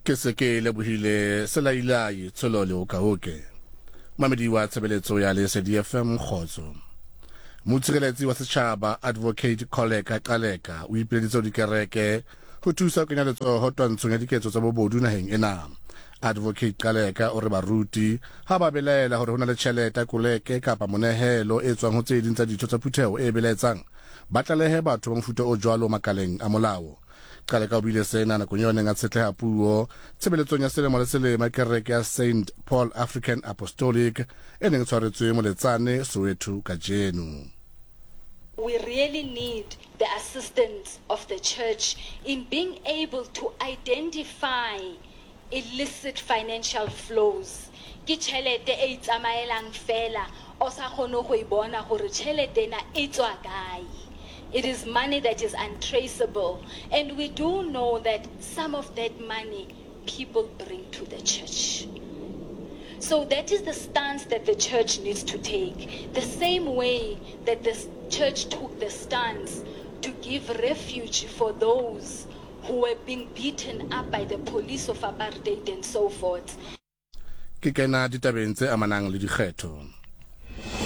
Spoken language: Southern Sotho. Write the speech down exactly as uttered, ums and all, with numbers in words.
Ke se ke lebohile Selailai Tsholo Leokaoke. Mamedi wa tshebeletso ya Lesedi F M kgotso. Motshireletsi wa setjhaba Advocate Kholeka Qaleka o ipileditse ho dikereke ho thusa ho kenya letsoho twantshong ya diketso tsa bobodu naheng ena. Advocate Qaleka o re baruti ha ba belaela hore ho na le tjhelete koleke kapa monehelo e tswang ho tse ding tsa ditho tsa phutheho e belaetsang, ba tlalehe batho ba mofuta o jwalo makaleng a molao. Qaleka o buile sena nakong eo a neng a tshetleha puo tshebeletsong ya selemo le selemo ya kereke ya Saint Paul African Apostolic e neng e tshwaretswe Moletsane, Soweto kajeno. We really need the assistance of the church in being able to identify illicit financial flows. Ke tjhelete e itsamaelang fela, o sa kgone go e bona gore tjhelete ena e tswa kae. It is money that is untraceable, and we do know that some of that money people bring to the church. So that is the stance that the church needs to take. The same way that the church took the stance to give refuge for those who were being beaten up by the police of apartheid and so forth. Ke kena ditabeng tse amanang le dikgetho.